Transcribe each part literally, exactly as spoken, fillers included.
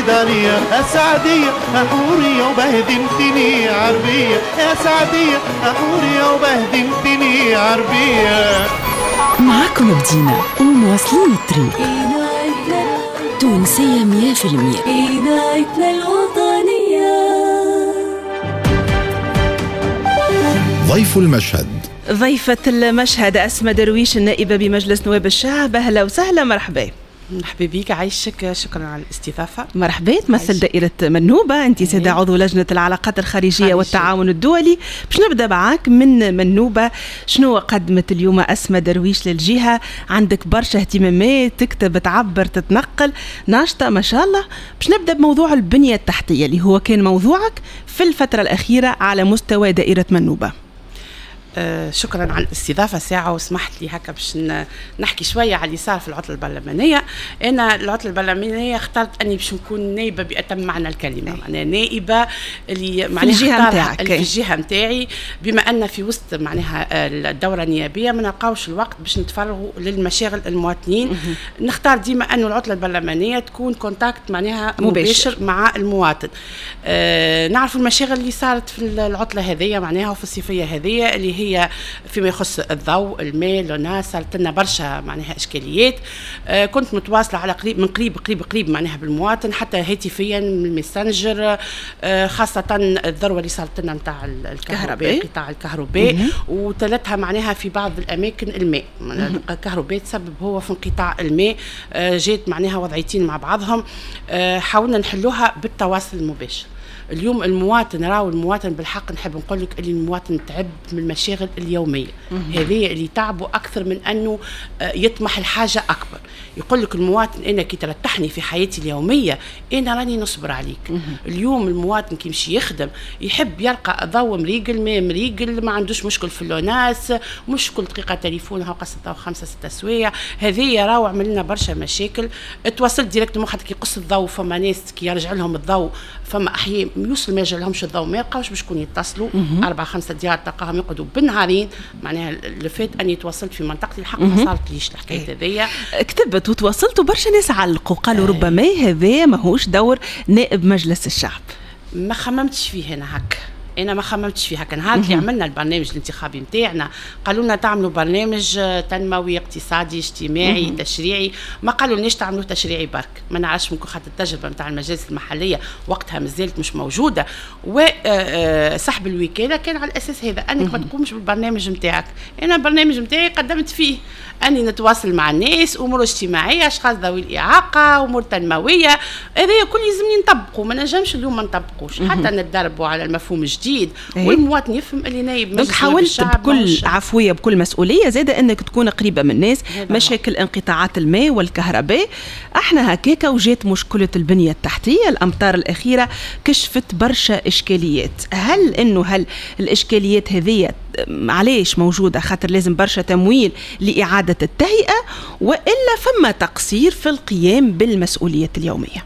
بعيد عليا يا سعدية حورية وبهدلتني عربية، يا سعدية حورية وبهدلتني عربية. معاكم بدينا ومواصلين الطريق. تونسية مية في المية. إذاعتنا الوطنية. ضيف المشهد. ضيفة المشهد أسماء درويش النائبة بمجلس نواب الشعب. أهلا وسهلا، مرحبا. مرحبا بك، عايشك، شكرا على الاستضافة. مرحبا. تمثل دائرة منوبة، أنت سيدة عضو لجنة العلاقات الخارجية خارجية. والتعاون الدولي. باش نبدأ معاك من منوبة، شنو قدمت اليوم أسماء درويش للجهة؟ عندك برشا اهتمامات، تكتب، تعبر، تتنقل، ناشطة ما شاء الله. باش نبدأ بموضوع البنية التحتية اللي هو كان موضوعك في الفترة الأخيرة على مستوى دائرة منوبة. آه شكرا على الاستضافة ساعة، وسمحت لي هكا باش نحكي شوية على اللي صار في العطلة البرلمانية. انا العطلة البرلمانية اخترت اني باش نكون نائبه باتم معنى الكلمة، معناها نائبه اللي معناها في الجهة نتاعك، في الجهة نتاعي، بما ان في وسط معناها الدورة النيابية ما نلقاوش الوقت باش نتفرغوا للمشاغل المواطنين. نختار ديما انه العطلة البرلمانية تكون contact معناها مباشر, مباشر مع المواطن. آه نعرفوا المشاغل اللي صارت في العطلة هذه معناها وفي الصيفية هذه اللي هي فيما يخص الضوء، الماء، l'ONAS، صارت لنا برشا معناها اشكاليات. آه كنت متواصلة على قريب من قريب قريب قريب معناها بالمواطن، حتى هاتفيا من ال Messenger، آه خاصة الذروة اللي صارت لنا نتاع الكهرباء، قطاع الكهرباء، وتلتها معناها في بعض الاماكن الماء، الكهرباء تسبب هو في انقطاع الماء. آه جات معناها وضعيتين مع بعضهم، آه حاولنا نحلوها بالتواصل المباشر. اليوم المواطن راهو المواطن بالحق نحب نقول لك اللي المواطن تعب من المشاغل اليومية هذه اللي تعبوا اكثر من انه يطمح الحاجة اكبر. يقول لك المواطن انا كي ترتحني في حياتي اليومية انا راني نصبر عليك. اليوم المواطن كي يمشي يخدم يحب يلقى ضوء مريقل، ماء مريقل، ما عندوش مشكل في l'ONAS، مش كل دقيقة تليفون هاو قص الضوء خمسة ستة سوايع. هذه راهو عمل لنا برشا مشاكل. تواصلت directement خاطر كي يقص الضوء فما ناس كي يرجع لهم الضوء، فما احياء يوصل ما يرجع لهمش الضوء، ما يلقاوش باش شكون يتصلوا. أربعة خمسة ديار تلقاهم يقعدوا بالنهارين. معناها اللي فات أني تواصلت في منطقتي الحق ما صارتليش الحكاية هذيا. كتبت وتواصلت وبرشا ناس علقوا قالوا ربما هذا ماهوش دور نائب مجلس الشعب. ما خممتش فيه أنا هكا، انا ما خممتش فيها. كان نهار اللي عملنا البرنامج الانتخابي نتاعنا قالوا لنا تعملوا برنامج تنموي اقتصادي اجتماعي تشريعي، ما قالوا لناش تعملوا تشريعي برك. ما نعرفش ممكن خاطر التجربة نتاع المجالس المحلية وقتها مازالت مش موجودة، وسحب الوكالة كان على الاساس هذا انك ما تقومش بالبرنامج نتاعك. انا البرنامج نتاعي قدمت فيه اني نتواصل مع الناس، امور اجتماعية، اشخاص ذوي الاعاقة، امور تنموية، هذا كل يلزمني نطبقه، ما نجمش اليوم ما نطبقوش حتى نتدربوا على المفهوم الجديد. إيه؟ والمواطن يفهم اللي نايب مجلس. حاولت بكل عفوية بكل مسؤولية زاده انك تكون قريبه من الناس. مشاكل انقطاعات الماء والكهرباء احنا هكاكا، وجات مشكلة البنية التحتية. الامطار الاخيرة كشفت برشا اشكاليات. هل انه هل الاشكاليات هذه علاش موجودة؟ خاطر لازم برشا تمويل لاعادة التهيئه، والا فما تقصير في القيام بالمسؤوليات اليومية؟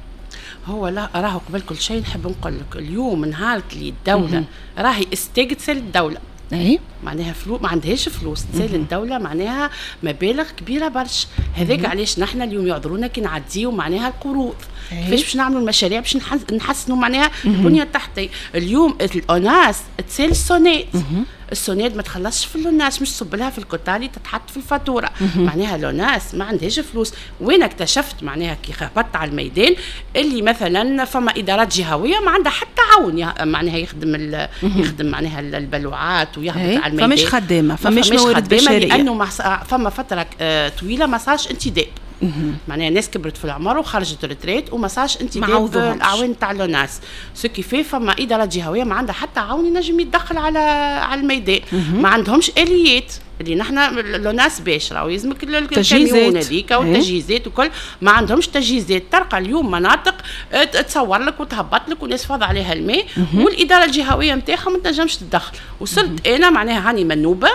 هو لا، راهو قبل كل شيء نحب نقول لك اليوم نهار اللي الدولة راهي استجتسل الدولة، اي معناها فلوس ما عندهاش فلوس تسال الدولة، معناها مبالغ كبيرة برشا. هذاك علاش نحن اليوم يعذرونا كي نعديو معناها القروض، كيفاش باش نعملوا المشاريع باش نحسنوا معناها البنية التحتية. اليوم ال ONAS تسال ال SONEDE، ال SONEDE ما تخلصش في l'ONAS، مش تصب لها في الكوتالي تتحط في الفاتورة. معناها l'ONAS ما عندهاش فلوس. وين اكتشفت معناها كي هبطت على الميدان اللي مثلا فما ادارات جهويه ما عندها حتى عون معناها يخدم يخدم معناها البلوعات ويهبط على الميدان. فماش خدامه، فماش موارد بشرية، لانه فما فترة طويلة ما صارش انتداب. معناها ناس كبرت في العمر وخرجت retraite وما صارش انتداب الاعوان تاع l'ONAS. ce qui fait فما ادارات جهويه ما عندها حتى عون ينجم يتدخل على على الميدان، ما عندهمش اليات اللي نحن l'ONAS باش راهو يلزمك الكاميون هذيك والتجهيزات وكل، ما عندهمش تجهيزات. تلقى اليوم مناطق تصور لك وتهبط لك وناس فاض عليها الماء والادارة الجهوية نتاعهم ما تنجمش تتدخل. وصلت انا معناها هاني منوبه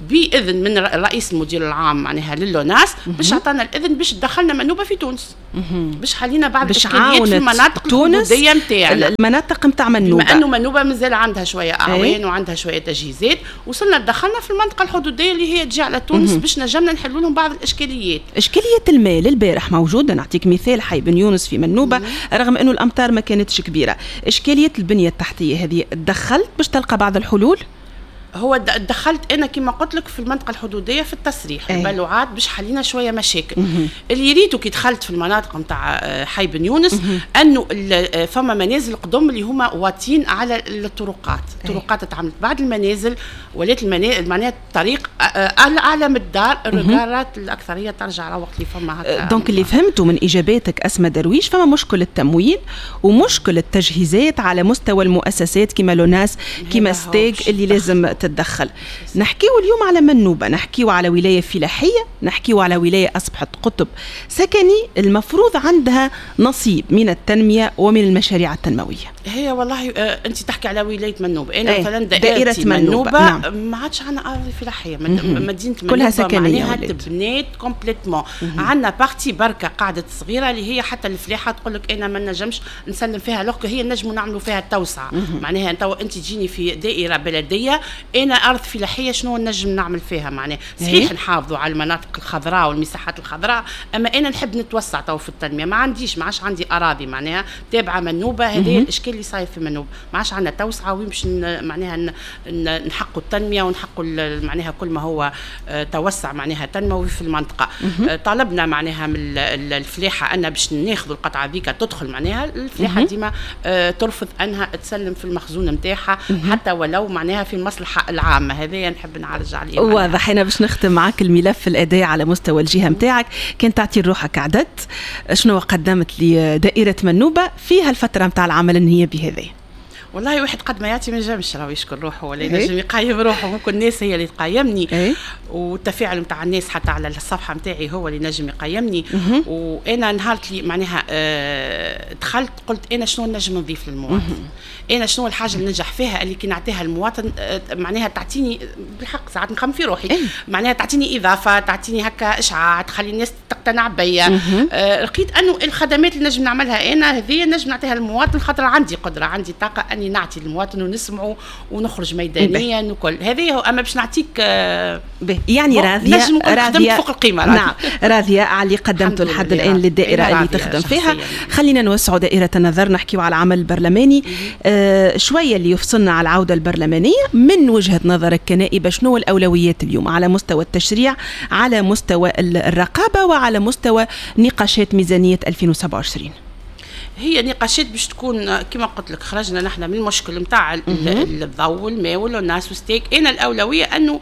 باذن من الرئيس المدير العام معناها لل ONAS باش عطانا الاذن باش دخلنا منوبه في تونس، باش حلينا بعض الاشكاليات في المناطق الحدوديه نتاعنا، المناطق نتاع منوبه، بما انه منوبه مازال عندها شوية اعوان وعندها شوية تجهيزات. وصلنا دخلنا في المنطقة الحدوديه الحدوديه اللي هي تجي على تونس باش نجمنا نحلوا لهم بعض الاشكاليات. اشكالية الماء البارح موجودة، نعطيك مثال حي بن يونس في منوبه رغم انه الامطار ما كانتش كبيرة. اشكالية البنية التحتية هذه دخلت باش تلقى بعض الحلول؟ هو دخلت انا كما قلت لك في المنطقة الحدوديه في التصريح أي. البلوعات باش حلينا شوية مشاكل. مم. اللي ريتو كي دخلت في المناطق نتاع حي بن يونس انه فما منازل قدم اللي هما واطين على الطرقات، الطرقات تعملت بعد المنازل ولات المنازل معناها الطريق اعلى من الدار، الرجالات الاكثرية ترجع على وقت اللي فما هكا. donc اللي فهمته من اجاباتك اسماء درويش فما مشكل التمويل ومشكل التجهيزات على مستوى المؤسسات كما l'ONAS كما STEG اللي لازم تتدخل. نحكيو اليوم على منوبة، نحكيو على ولاية فلاحية، نحكيو على ولاية أصبحت قطب سكني المفروض عندها نصيب من التنمية ومن المشاريع التنموية. هي والله آه أنت تحكي على ولاية منوبة، أنا مثلا دائرة منوبة, منوبة نعم. ما عادش عندنا أراضي فلاحية، مدينة منوبة كلها سكنية معناها تبنات complètement. عندنا partie بركة قاعدة صغيرة اللي هي حتى الفلاحة تقول لك أنا ما نجمش نسلم فيها alors que هي نجموا نعملوا فيها التوسعة. معناها أنت تجيني في دائرة بلدية انا ارض فلاحية شنو نجم نعمل فيها؟ معناها صحيح نحافظوا على المناطق الخضراء والمساحات الخضراء، اما انا نحب نتوسع تو في التنمية، ما عنديش ما عادش عندي اراضي معناها تابعه منوبه. هذا الاشكال اللي صاير في منوبه، ما عادش عندنا توسعه وين باش معناها نحقوا التنمية ونحقوا معناها كل ما هو توسع معناها تنموي في المنطقة. طالبنا معناها من الفلاحة ان باش ناخذوا القطعة ذيك تدخل معناها الفلاحة ديما ترفض انها تسلم في المخزون نتاعها حتى ولو معناها في المصلحة العامة. هذايا نحب نعرج عليه. واضح. انا باش نختم معك الملف الاداء على مستوى الجهة نتاعك، كان تعطي روحك عدد شنو قدمت لدائره منوبه في هالفترة نتاع العمل النيابي هذا؟ والله واحد قد ما يعطي ما ينجمش راهو يشكر روحه ولا ينجم يقيم روحه، ممكن الناس هي اللي تقيمني إيه؟ والتفاعل نتاع الناس حتى على الصفحة نتاعي هو اللي نجم يقيمني. وانا نهار اللي معناها آه دخلت قلت انا شنو نجم نضيف للمواطن، انا شنو الحاجة اللي ننجح فيها اللي كي نعطيها المواطن آه معناها تعطيني بالحق ساعات نخمم في روحي إيه؟ معناها تعطيني اضافه، تعطيني هكا اشعاع، تخلي الناس تقتنع بيا. آه لقيت انه الخدمات اللي نجم نعملها انا هذه نجم نعطيها للمواطن خاطر عندي قدره، عندي طاقة اني نعطي للمواطن ونسمعه ونخرج ميدانيا وكل هذه هو. اما باش نعطيك آه يعني راضية راضية فوق القيمة راضية. نعم راضية على اللي قدمته لحد الان للدائره اللي تخدم فيها. خلينا نوسعوا دائرة النظر، نحكيو على العمل البرلماني آه شوية اللي يفصلنا على العودة البرلمانية. من وجهه نظرك كنائبه شنو الاولويات اليوم على مستوى التشريع، على مستوى الرقابة، وعلى مستوى نقاشات ميزانية ألفين وسبعة وعشرين؟ هي نقاشات باش تكون كما قلت لك خرجنا نحن من المشكل نتاع الضوء والماء والناس و STEG. انا الاولوية انه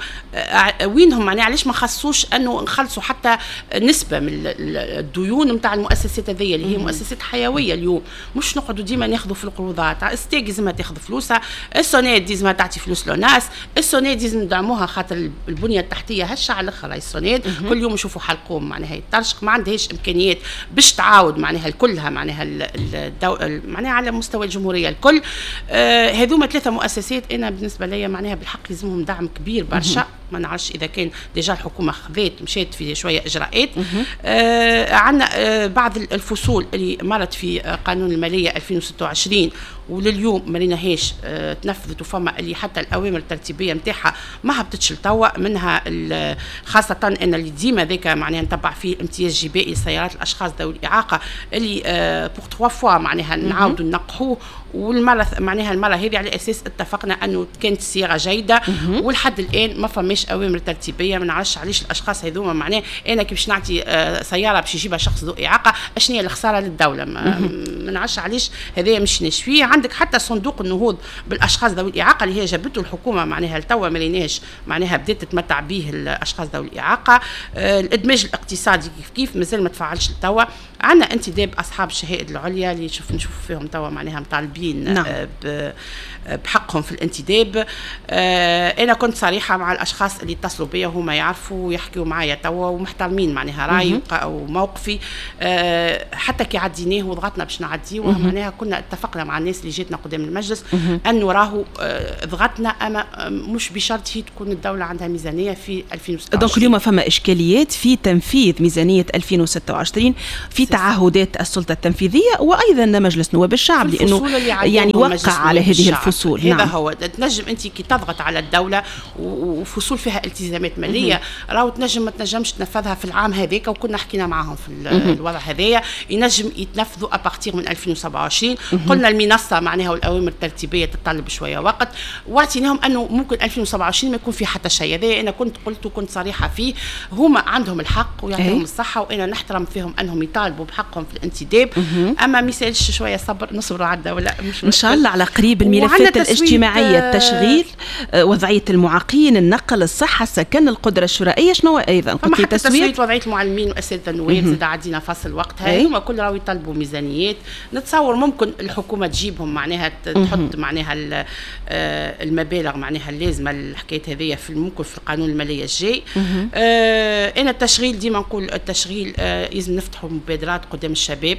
وينهم معناها علاش ما خصوش انه نخلصوا حتى نسبه من الديون نتاع المؤسسات هذيا اللي هي مؤسسات حيوية اليوم، مش نقعدوا ديما ناخذوا في القروضات. STEG لازمها تاخذ فلوسها، السوناد لازمها تعطي فلوس l'ONAS، السوناد لازم ندعموها خاطر البنية التحتية هشه على الاخر. السوناد كل يوم نشوفوا حلقوم معناها يطرشق، ما عندهاش امكانيات باش تعاود معناها كلها معناها الدو... معناها على مستوى الجمهورية الكل. آه هذوما ثلاثة مؤسسات انا بالنسبة لي معناها بالحق لازمهم دعم كبير برشا. ما نعرفش اذا كان déjà الحكومة خذات مشات في شوية اجراءات. آه عندنا آه بعض الفصول اللي مرت في قانون المالية ألفين وستة وعشرين ولليوم ما ريناهاش آه تنفذت، وفما اللي حتى الاوامر الترتيبية نتاعها ما هبطتش لتوا، منها خاصة ان اللي ديما ذاك معناها نتبع فيه امتياز جبائي لسيارات الاشخاص ذوي الاعاقة اللي آه pour trois fois معناها نعاودوا ننقحوه. والمرة معناها المرة هذه على اساس اتفقنا انه كانت الصياغة جيدة، ولحد الان ما فماش اوامر ترتيبيه. ما نعرفش علاش الاشخاص هذوما معناها انا كي باش نعطي سيارة باش يجيبها شخص ذو اعاقه اشنو هي الخسارة للدولة؟ ما نعرفش علاش هذايا مشيناش فيه. عندك حتى صندوق النهوض بالاشخاص ذوي الاعاقة اللي هي جابته الحكومة معناها لتوا ما لقيناش معناها بدات تتمتع به الاشخاص ذوي الاعاقة. الادماج الاقتصادي كيف كيف مازال ما تفعلش لتوا. عندنا انتداب اصحاب الشهائد العليا اللي نشوف نشوف فيهم توا معناها مطالبين نعم. بحقهم في الانتداب. انا كنت صريحه مع الاشخاص اللي اتصلوا بيا وهما يعرفوا ويحكيوا معايا توا ومحترمين معناها رايي وموقفي. حتى كي عديناه وضغطنا باش نعديه معناها كنا اتفقنا مع الناس اللي جاتنا قدام المجلس انه راهو ضغطنا، اما مش بشرط هي تكون الدولة عندها ميزانية في ألفين وستة وعشرين. donc اليوم فما اشكاليات في تنفيذ ميزانية ألفين وستة وعشرين في تعهدات السلطة التنفيذية وايضا مجلس نواب الشعب، لانه يعني وقع على هذه الفصول. نعم. هذا هو تنجم انت كي تضغط على الدولة وفصول فصول فيها التزامات ماليه راهو تنجم ما تنجمش تنفذها في العام هذاك، وكنا حكينا معاهم في الوضع هذايا، ينجم يتنفذوا à partir من ألفين وسبعة وعشرين. قلنا المنصة معناها والاوامر الترتيبية تتطلب شوية وقت، واعطيناهم انه ممكن ألفين وسبعة وعشرين ما يكون في حتى شيء. هذا انا كنت قلت وكنت صريحه فيه، هما عندهم الحق ويعطيهم الصحة، وانا نحترم فيهم انهم يطالبوا بحقهم في الانتداب، اما ما يسالش شوية صبر، نصبروا عدة ولا مش ان شاء الله على قريب. الملفات الاجتماعية، التشغيل، وضعية المعاقين، النقل، الصحة، السكن، القدرة الشرائية، شنو ايضا قلت لي تسويه وضعية المعلمين واساتذه النواب زاد عدينا فصل وقتها، هما كل راهو يطالبوا ميزانيات. نتصور ممكن الحكومة تجيبهم معناها تحط معناها المبالغ معناها اللازمة الحكاية هذيا في ممكن في القانون المالية الجاي. آه انا التشغيل ديما نقول التشغيل آه لازم نفتحوا مبادرات قدام الشباب،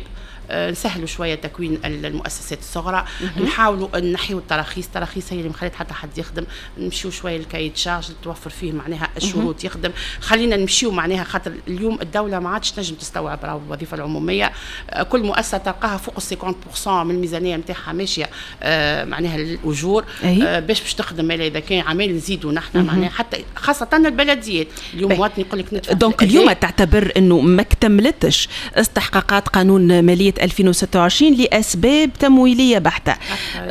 آه نسهلوا شوية تكوين المؤسسات الصغرى، نحاولوا نحيوا التراخيص، التراخيص هي اللي ما خلت حتى حد يخدم، نمشيو شوية ال cahier des charges اللي توفر فيه معناها الشروط يخدم، خلينا نمشيو معناها خاطر اليوم الدولة ما عادش تنجم تستوعب راهو الوظيفة العمومية، آه كل مؤسسة تلقاها فوق ال خمسين بالمية من الميزانية نتاعها ماشية آه معناها للاجور، آه باش باش تخدم اذا كان عمال نزيدوا نحن معناها حتى خاصة البلديات اليوم مواطن يقول لك ندفع. donc اليوم تعتبر انه ما اكتملتش استحقاقات قانون ماليه ألفين وستة وعشرين لأسباب تمويلية بحتة.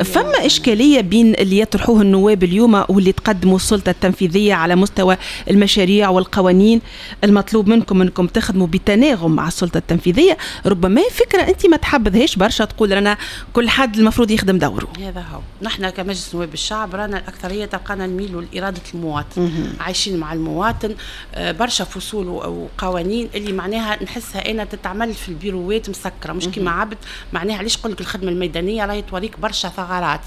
فما إشكالية بين اللي يطرحوه النواب اليوم واللي تقدموا السلطة التنفيذية على مستوى المشاريع والقوانين، المطلوب منكم أنكم تخدموا بتناغم مع السلطة التنفيذية. ربما فكرة أنت ما تحبذهاش برشا، تقول رانا كل حد المفروض يخدم دوره. هذا هو، نحن كمجلس نواب الشعب رانا الأكثرية تلقانا نميلوا لإرادة المواطن، عايشين مع المواطن، برشا فصول وقوانين اللي معناها نحسها أنا تتعمل في البيروات مسكرة، مش كيما عبد معناها. علاش نقول لك الخدمة الميدانية راهي توريك برشا ثغرات،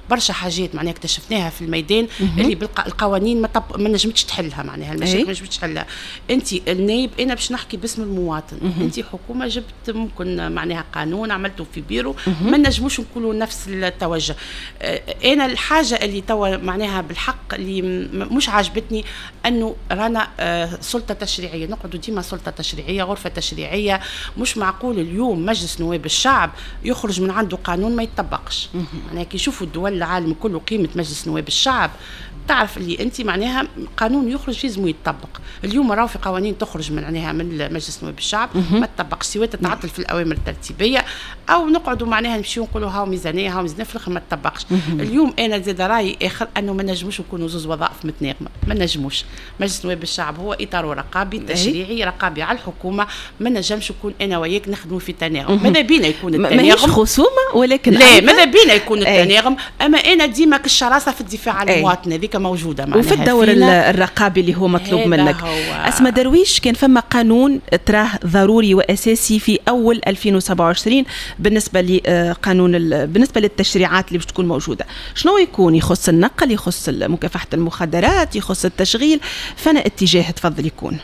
برشا حاجات معناها اكتشفناها في الميدان اللي بالقوانين ما, طب... ما نجمتش تحلها، معناها المشاكل ما نجمتش تحلها. انت النايب، انا باش نحكي باسم المواطن، انت حكومة جبت ممكن معناها قانون عملته في بيرو، ما نجموش نقولوا نفس التوجه. انا الحاجة اللي توا معناها بالحق اللي مش عاجبتني انه رانا سلطة تشريعية، نقعدوا ديما سلطة تشريعية، غرفة تشريعية. مش معقول اليوم مجلس نواب الشعب يخرج من عنده قانون ما يتطبقش. معناها كي يشوفوا الدول العالم كله قيمة مجلس نواب الشعب، تعرف اللي انت معناها قانون يخرج لازم يتطبق. اليوم راهو في قوانين تخرج من معناها من مجلس نواب الشعب ما تطبقش، سواء تتعطل في الاوامر الترتيبية او نقعدوا معناها نمشيو نقولوا هاو ميزانية هاو ميزانية، في الاخر ما تطبقش. اليوم انا زاد رايي اخر انه ما نجموش نكونوا زوز وظائف متناغمه، ما نجموش. مجلس نواب الشعب هو اطار رقابي تشريعي رقابي على الحكومة، ما نجمش نكون انا وياك نخدموا في تناغم. ماذا بينا يكون التناغم، ماهيش خصومه ولكن لا ماذا بينا يكون التناغم، اما انا ديما كالشراسه في الدفاع عن المواطن هذيك موجودة معناها وفي الدور الرقابي اللي هو مطلوب منك. أسماء درويش، كان فما قانون تراه ضروري وأساسي في أول ألفين وسبعة وعشرين بالنسبة لقانون بالنسبة للتشريعات اللي باش تكون موجودة، شنو يكون؟ يخص النقل، يخص مكافحة المخدرات، يخص التشغيل، فانا اتجاه تفضل يكون؟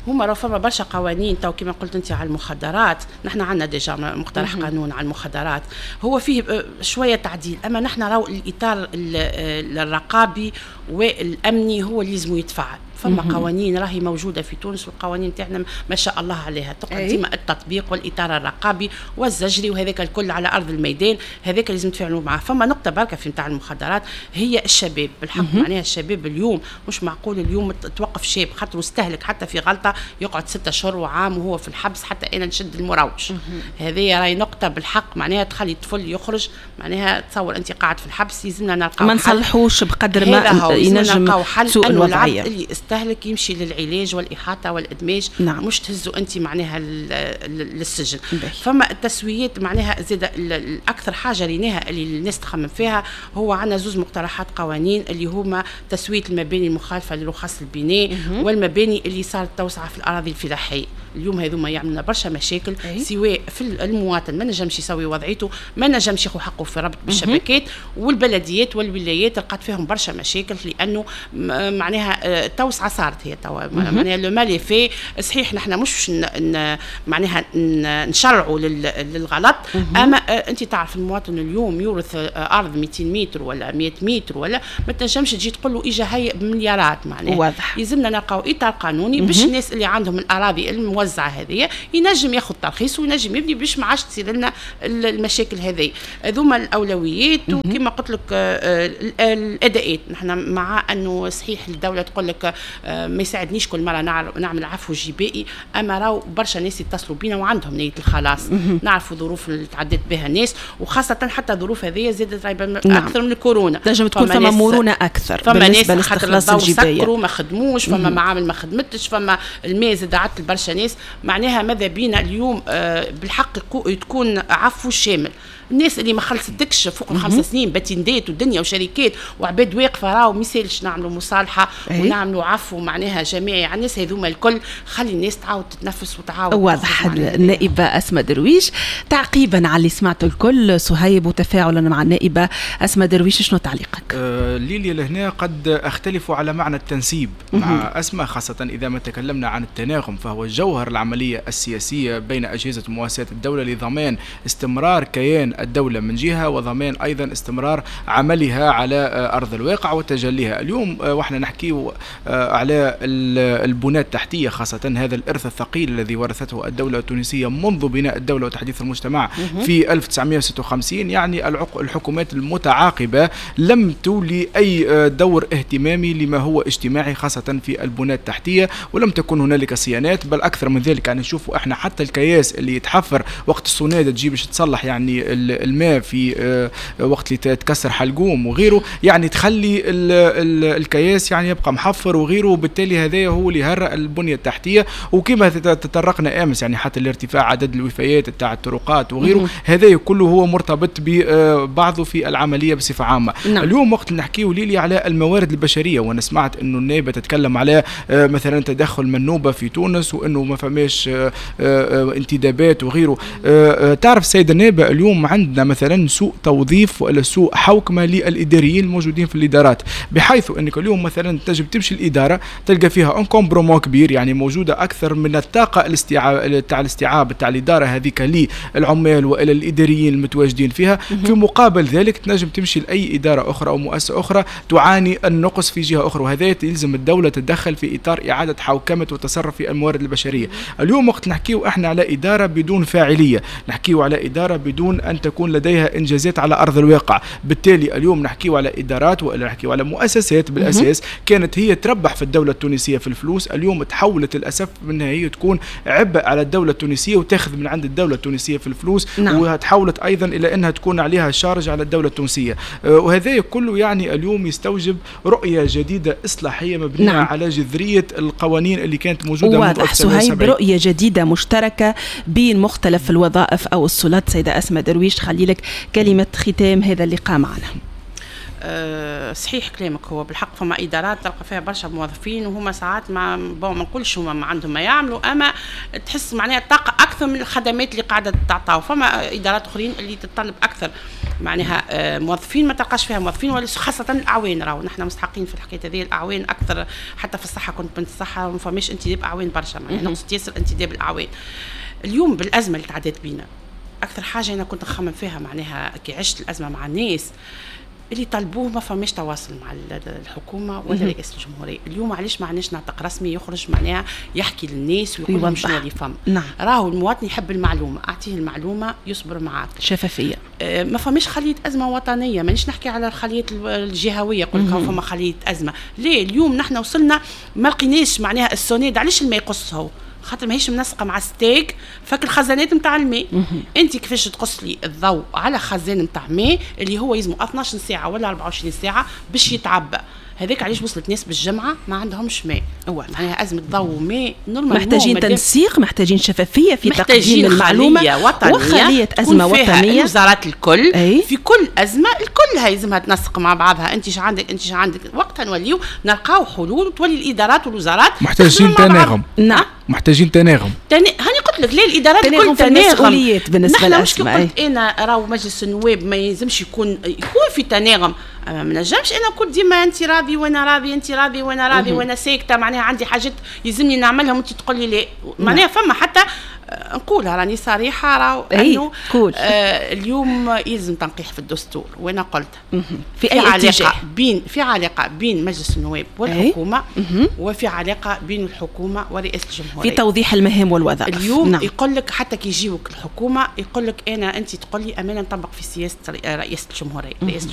هما راه فما برشا قوانين تو كما قلت انت على المخدرات، نحن عندنا déjà مقترح قانون على المخدرات، هو فيه شوية تعديل، اما نحن راهو الاطار الرقابي والامني هو اللي لازم يتفعل. فما قوانين راهي موجودة في تونس، والقوانين تاعنا ما شاء الله عليها، تقعد ديما التطبيق والاطار الرقابي والزجري وهذاك الكل على ارض الميدان، هذاك لازم نتفاعلوا معاه. فما نقطة بركة في نتاع المخدرات هي الشباب بالحق، معناها الشباب اليوم مش معقول اليوم توقف شاب خاطر استهلك حتى في غلطه يقعد ستة اشهر وعام وهو في الحبس، حتى انا نشد المروج. هذه راهي نقطة بالحق معناها تخلي الطفل يخرج، معناها تصور انت قاعد في الحبس، يلزمنا نلقاو ما نصلحوش بقدر ما ينجم سوء الوضعية. اللي استهلك يمشي للعلاج والإحاطة والإدماج، نعم. مش تهزوا أنت معناها للسجن. فما التسويات معناها زاد الأكثر حاجة ريناها اللي الناس تخمم فيها، هو عندنا زوز مقترحات قوانين اللي هما تسوية المباني المخالفة لرخص البناء والمباني اللي صارت توسعة في الأراضي الفلاحية. اليوم هذوما يعملنا برشا مشاكل، أي. سواء في المواطن ما نجمش يسوي وضعيته، ما نجمش ياخذ حقه في ربط بالشبكات، والبلديات والولايات لقات فيهم برشا مشاكل، لانه معناها توسعه صارت هي توا معناها le mal est fait. صحيح نحن مش معناها نشرعوا للغلط، اما انت تعرف المواطن اليوم يورث ارض مئتين متر ولا مئة متر ولا ما تنجمش تجي تقول له اجا هي بمليارات، معناها واضح. يلزمنا نلقاو اطار قانوني باش الناس اللي عندهم الاراضي الموزعه الموزعه هذه ينجم ياخذ ترخيص وينجم يبني باش ما عادش تصير لنا المشاكل هذه. هذوما الاولويات. وكما قلت لك الاداءات، نحن مع انه صحيح الدولة تقول لك ما يساعدنيش كل مرة نعمل عفو جبائي، اما راهو برشا ناس يتصلوا بينا وعندهم نيه الخلاص. نعرفوا ظروف اللي تعدت بها الناس، وخاصة حتى الظروف هذه زادت نعم. اكثر من الكورونا، تنجم تكون فما مرونة اكثر فما ناس لاستخلاص الجبايه، سكروا ما خدموش، فما معامل ما خدمتش، فما الماء زاد عطل برشا ناس. معناها ماذا بينا اليوم بالحق تكون عفو شامل. الناس اللي ما خلصتكش فوق الخمس سنين باتندات والدنيا وشركات وعباد واقفة، راهو ما يسالش نعملوا مصالحه أيه؟ ونعملوا عفو معناها جماعي على الناس هذوما الكل، خلي الناس تعاود تتنفس وتعاود. واضح. النائبه اسماء درويش، تعقيبا على اللي سمعته الكل صهيب وتفاعلا مع النائبه اسماء درويش، شنو تعليقك؟ أه ليليا لهنا قد اختلف على معنى التنسيب مع اسماء، خاصة اذا ما تكلمنا عن التناغم، فهو جوهر العملية السياسية بين اجهزة ومؤسسات الدولة لضمان استمرار كيان الدولة من جهة، وضمان أيضا استمرار عملها على أرض الواقع وتجليها. اليوم وإحنا نحكي على البنى التحتية، خاصة هذا الإرث الثقيل الذي ورثته الدولة التونسية منذ بناء الدولة وتحديث المجتمع في ألف وتسعمائة وستة وخمسين، يعني الحكومات المتعاقبة لم تولي أي دور اهتمامي لما هو اجتماعي خاصة في البنى التحتية، ولم تكن هنالك صيانات، بل أكثر من ذلك يعني نشوفوا احنا حتى الكياس اللي يتحفر وقت الصنادة تجي باش تصلح يعني الماء في وقت اللي تكسر حلقوم وغيره، يعني تخلي ال ال الكياس يعني يبقى محفر وغيره، وبالتالي هذا هو اللي هرأ البنية التحتية. وكما تطرقنا امس يعني حتى الارتفاع عدد الوفيات تاع الطرقات وغيره، هذا كله هو مرتبط ببعضه في العملية بصفة عامة. نعم. اليوم وقت اللي نحكيو ليلي على الموارد البشرية، وانا سمعت انه النائبة تتكلم على مثلا تدخل منوبة في تونس وانه ما فماش انتدابات وغيره. تعرف سيدة النائبة اليوم عندنا مثلا سوء توظيف ولا سوء حوكمة للاداريين الموجودين في الادارات، بحيث انك اليوم مثلا تجب تمشي الادارة تلقى فيها encombrement كبير، يعني موجودة اكثر من الطاقة الاستيعاب تاع الاستيعاب تاع الادارة هذيك للعمال والى الاداريين المتواجدين فيها. في مقابل ذلك تنجم تمشي لاي ادارة اخرى او مؤسسة اخرى تعاني النقص في جهة اخرى، وهذا يلزم الدولة تتدخل في اطار اعاده حوكمة وتصرف في الموارد البشرية. اليوم وقت نحكيو احنا على ادارة بدون فاعلية، نحكيو على ادارة بدون ان تكون لديها انجازات على ارض الواقع، بالتالي اليوم نحكيو على ادارات والا نحكيو على مؤسسات بالاساس كانت هي تربح في الدولة التونسية في الفلوس، اليوم تحولت للاسف منها هي تكون عبء على الدولة التونسية وتاخذ من عند الدولة التونسية في الفلوس. نعم. وتحولت ايضا الى انها تكون عليها شارج على الدولة التونسية، وهذا كله يعني اليوم يستوجب رؤية جديدة اصلاحية مبنية. نعم. على جذرية القوانين اللي كانت موجودة منذ واضح صهيب، رؤية جديدة مشتركة بين مختلف الوظائف او السلطات. سيده اسماء درويش، خلي لك كلمة ختام هذا اللقاء معنا. أه صحيح كلامك، هو بالحق فما ادارات تلقى فيها برشا موظفين وهما ساعات ما bon ما نقولش هما ما عندهم ما يعملوا، اما تحس معناها الطاقة اكثر من الخدمات اللي قاعدة تعطاو. فما ادارات اخرين اللي تتطلب اكثر معناها أه موظفين ما تلقاش فيها موظفين، ولا خاصة الاعوان، راهو نحن مستحقين في الحكاية هذه الاعوان اكثر. حتى في الصحة كنت بنت الصحة ما فماش انتداب اعوان برشا، معناها نقص ياسر انتداب الاعوان. اليوم بالازمه اللي تعدت بينا اكثر حاجة انا كنت نخمم فيها معناها كي عشت الازمة مع الناس اللي طلبوه ما فماش تواصل مع الحكومة ولا رئاسة الجمهورية. اليوم علاش ما عندناش ناطق رسمي يخرج معناها يحكي للناس ويقول لهم شنو اللي فما؟ نعم. راهو المواطن يحب المعلومة، اعطيه المعلومة يصبر معاك. شفافية. آه ما فماش خليه ازمة وطنية، مانيش نحكي على الخلية الجهوية يقول لك فما خليه ازمة، ليه اليوم نحن وصلنا ما لقيناش معناها السوناد علاش الماء يقص هو؟ خاطر ماهيش منسقة مع ستاك فك الخزانات نتاع الماء. انت كيفاش تقص لي الضوء على خزان نتاع ماء اللي هو يلزمو اثناش ساعة ولا أربعة وعشرين ساعة باش يتعبى؟ هذاك علاش وصلت ناس بالجمعة ما عندهمش ماء. معناها ازمة ضوء وماء normal، محتاجين تنسيق، محتاجين شفافية في تقديم المعلومة، وخليه ازمة وطنية الوزارات الكل. أي؟ في كل ازمة الكل لازمها تنسق مع بعضها، انت اش عندك انت اش عندك، وقتها نوليو نلقاو حلول وتولي الادارات والوزارات محتاجين تناغم. نعم محتاجين تناغم. تن... هاني قلت لك ليه الادارات الكل تناغم بالنسبة للاسماء. قلت انا راهو مجلس النواب ما يلزمش يكون يكون في تناغم، ما نجمش انا نقول ديما انت راضي وانا راضي، انت راضي وانا راضي وانا ساكته، معناها عندي حاجات يلزمني نعملها وانت تقول لي لا. معناها فما حتى نقولها راني صريحه، راهو انه آه اليوم يلزم تنقيح في الدستور، وانا قلت في, في اي علاقة اتجاه؟ بين في علاقة بين مجلس النواب والحكومة، وفي علاقة بين الحكومة ورئاسه الجمهورية في توضيح المهام والوظائف. اليوم نعم. يقول لك حتى كي يجيوك الحكومة يقول لك انا، انت تقول لي امانه نطبق في سياسة رئاسة الجمهوريه، رئاسة